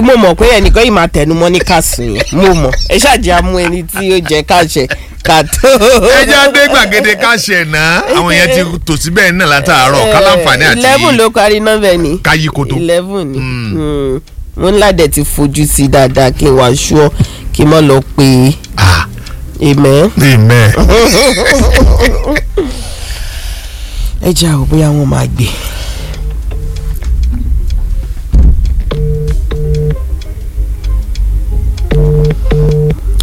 Mo mọ̀ pé ẹnìkan yìí máa tẹnu mọ́ ní kàsùn yẹn, mo mọ̀. Ẹ ṣáàjì amú ẹni tí ó jẹ káṣẹ ká tó. Ẹ jẹ́ adé gbàgede káṣẹ̀ náà, àwọn yẹn ti tò síbẹ̀ náà látàárọ̀ kálàǹfààní àti 11 ló parí nọ́mbà ẹ̀ ní. káyí koto. 11 ni. Mo ń ládẹ̀ ti fojú sí dáadáa kí n wá ṣúọ́ kí n má lọ pé. Ah, amen. Amen. Ẹ jẹ́ àwọn bóyá wọ́n máa gbé.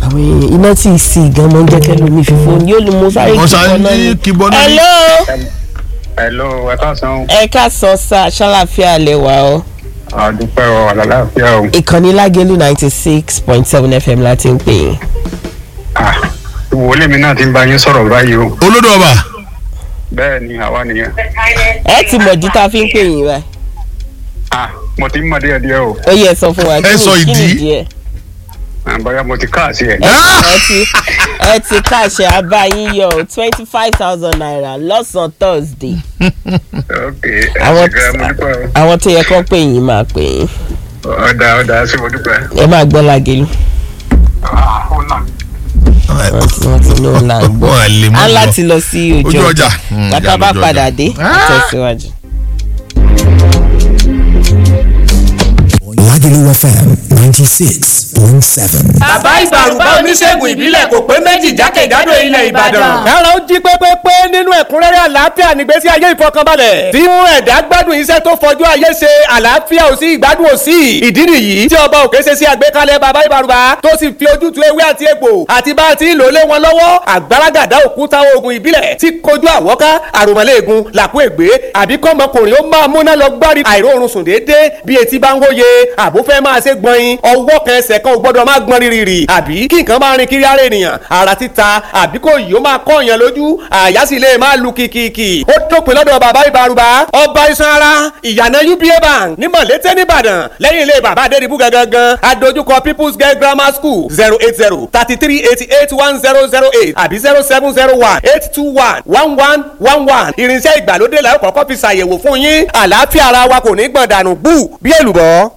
Àwọn èèyàn iná tí ì sí gan mọ́ ń jẹ́ kẹ́lómi fífò ní ó lè mú sáré Wọ́n sáré kíbọn náà ni. kíbọn náà ni. Hello. Hello, ẹ káàsán. Ẹ káàsán sá, ṣàlàfíà lẹ wà o. Àdúpẹ́ o, àlàáfíà o. Ìkànnì Lágẹ̀lú 96.7 FM láti ń pè yín. Ah, ìwọlé mi náà ti ń bá yín sọ̀rọ̀ báyìí o. Olódò ọba. Bẹ́ẹ̀ ni, àwa nìyẹn. Ẹ ti mọ̀ ju tá a fi ń pè yín báyìí. Ah, mo ti ń mọ̀ díẹ̀ díẹ̀ o. Ó yẹ sọ fún wa. Ẹ sọ kí ni ìdí. ìdí ẹ̀? Ah, bóyá mo ti káàsì ẹ̀. Ẹ ti káàṣẹ abáyín yọ ₦25,000 lọ́sàn-án Thursday. Ok, ẹ Àwọn ṣe gan, mo dúpẹ́ o. àwọn tó yẹ kó pè yín máa pè yín. Ọ̀dà ọ̀dà, ṣé mo dúpẹ́. Ẹ máa gbọ́ Lágẹ̀lú. Ah, ó nà. Wọ́n ti ní òun là ń gbọ́. Wọ́n lè mú Á lọ. láti lọ sí ojú Ojú ọjà. ọjà. Bàtà bá Ojú ọjà. padà dé, Ah! àtẹ̀síwájú. Lagelu FM 96.7. Bàbá Ìbàrùbá, oníṣègùn ìbílẹ̀ kò pé méjì jákèjádò ilẹ̀ Ìbàdàn. Kára ó jí pépépé nínú ẹ̀kúnrẹ́rẹ́ àlàáfíà nígbésí ayé ìfọkànbalẹ̀. Tí mú ẹ̀dá gbádùn iṣẹ́ tó fọjú ayé ṣe, àlàáfíà ò sí, ìgbádùn ò sí. Ìdí nìyí tí ọba òkè ṣe sí àgbékalẹ̀ bàbá Ìbàrùbá tó sì fi ojútùú ewé àti egbò àti bá a ti ń lò lé wọn lọ́wọ́. Àgbàràgàdá òkúta oògùn ìbílẹ̀ tí kojú àwọ́ká, àròmọ̀lẹ́ẹ̀gùn, làkú ègbé, àbí kọ́mọkùnrin ó máa múná lọ gbárí àìróorun sùn déédéé bí etí bá ń hóye, àbó fẹ́ máa ṣe gbọ̀nyin, ọwọ́ kan ẹsẹ̀ kan ò gbọ́dọ̀ máa gbọ́n rírì, àbí kí nǹkan máa rin kiri ara ènìyàn, ara títa, àbí kò yìí ó máa kọ́ èèyàn lójú, àyà sì lè máa lu kìkìkì. Ó dópin lọ́dọ̀ bàbá Ìbàrùbá, ọba iṣan ara, ìyànà UBA Bank ní Mọ̀lété nìbàdàn, lẹ́yìn ilé bàbá Adédìbú gangan, adójúkọ People's Girl Grammar School. 08033881008 àbí 07018211111. Irinṣẹ́ ìgbàlódé la ó kọ́kọ́ fi ṣàyẹ̀wò fún yín. Àlàáfíà ara wa kò ní gbọ̀n dànù bú bí èlùbọ́.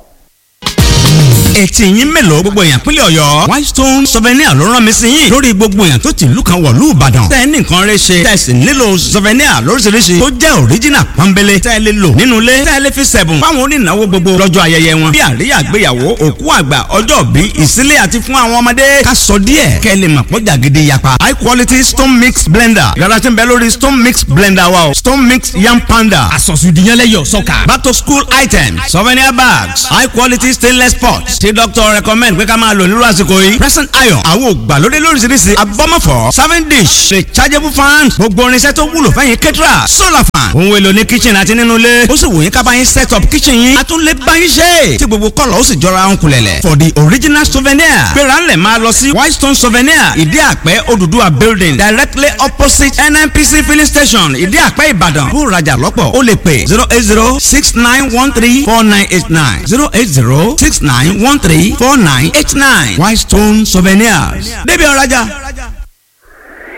Etí yín mélòó, gbogbo èèyàn pínlẹ̀ Ọ̀yọ́? Whitestone Souvenir ló rán mi sí yín lórí gbogbo èèyàn tó ti ìlú kan wọ̀lú Ìbàdàn tẹ́ ẹ ní nǹkan rẹ ṣe, tẹ́ ẹ sì nílò souvenir lóríṣiríṣi tó jẹ́ original pọ́nbélé tẹ́ ẹ lè lò nínú ilé, tẹ́ ẹ lè fi sẹ̀bùn fáwọn onínáwó gbogbo lọ́jọ́ ayẹyẹ wọn, bí àríyá ìgbéyàwó, òkú àgbà, ọjọ́ bí, ìsílẹ̀ àti fún àwọn ọmọdé. Ká sọ díẹ̀ kẹ́ ẹ lè mọ̀ pọ́jà gidi yapa. High quality stone mix blender yàrá tí ń bẹ lórí stone mix blender wa o. Stone mix yam panda Àsọ̀sùdìyànlẹ́yọ̀ sọ́kà. Back to school items, souvenir bags, high quality stainless pots tí doctor recommend pé ká máa lò nírú àsìkò yìí. Present iron, àwọn ògbàlódé lóríṣiríṣi, abọ́mọ̀fọ́ serving dish, rechargeable fans, gbogbo irinṣẹ́ tó wúlò fẹ́yìn kẹ́tìrà, solar fan, ohun èlò ní kitchen àti nínú ilé. Ó sì wù yín ká bá yín set up kitchen yín, a tún lè bá yín ṣe tí gbogbo kọ́lọ̀ ó sì jọra ń kulẹ̀lẹ̀. For the original souvenir, gbéra ńlẹ̀ máa lọ sí Whitestone Souvenir, Ìdí Àpẹ́, Odùduwà Building, directly opposite NNPC filling station, Ìdí Àpẹ́, Ìbàdàn. Kó rajà lọ́pọ̀, ó lè pè 08069134989, 08069134989. Whitestone Souvenirs, débi ọ̀rajà.